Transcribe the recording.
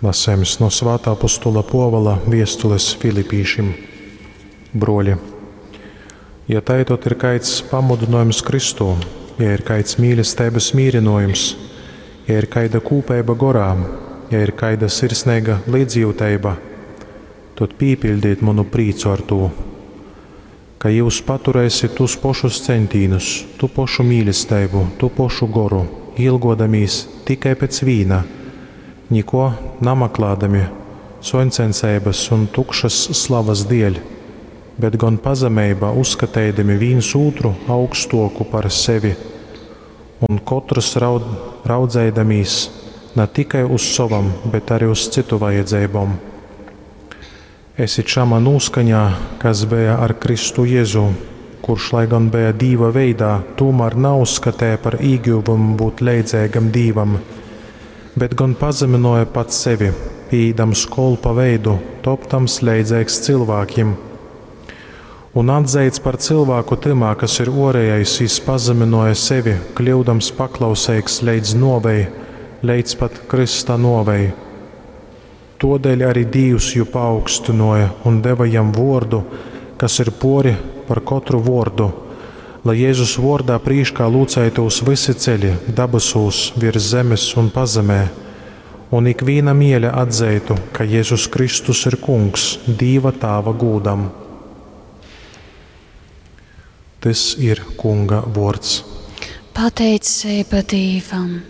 Lasejums no Svāta Apostola Puovola viestules Filipīšim. Bruoļi, ja tai tod ir kaids pamudynojums Kristū, ja ir kaids mīlesteibys mīrynojums, ja ir kaida kūpeiba gorā, ja ir kaida sirsneiga līdzjiuteiba, tod pīpiļdiet munu prīcu ar tū, ka jius paturēsit tūs pošus ceņtīnus, tū pošu mīlesteibu, tū pošu goru, ilgodamīs tikai pēc vīna, nikuo namaklādami suoņcenseibys un tukšys slavys dieļ, bet gon pazemeibā uzskateidami vīns ūtru augstuoku par sevi un kotrs raud, raudzeidamīs na tikai uz sovom, bet ari uz cytu vajadzeibom. Esit šamā nūskaņā, kas beja ar Kristu Jezu, kurš, lai gan beja Dīva veidā, tūmār nauzskateja par īgyvumu būt leidzeigam Dīvam, bet gon pazemynuoja pats sevi, pīīdams kolpa veidu, topdams leidzeigs cylvākim. Un atzeits par cylvāku tymā, kas ir uorejais, jis pazemynuoja sevi, kļyudams paklauseigs leidz nuovei, leidz pat krysta nuovei. Tuodeļ arī Dīvs jū paaugstynuoja un deva jam vuordu, kas ir puori par kotru vuordu, lai Jezus vuordā prīškā lūceitūs vysi ceļi dabasūs, viers zemes un pazemē, un ikvīna miele atzeitu, ka Jezus Kristus ir Kungs, Dīva Tāva gūdam. Tys ir Kunga vuords. Pateiceiba Dīvam.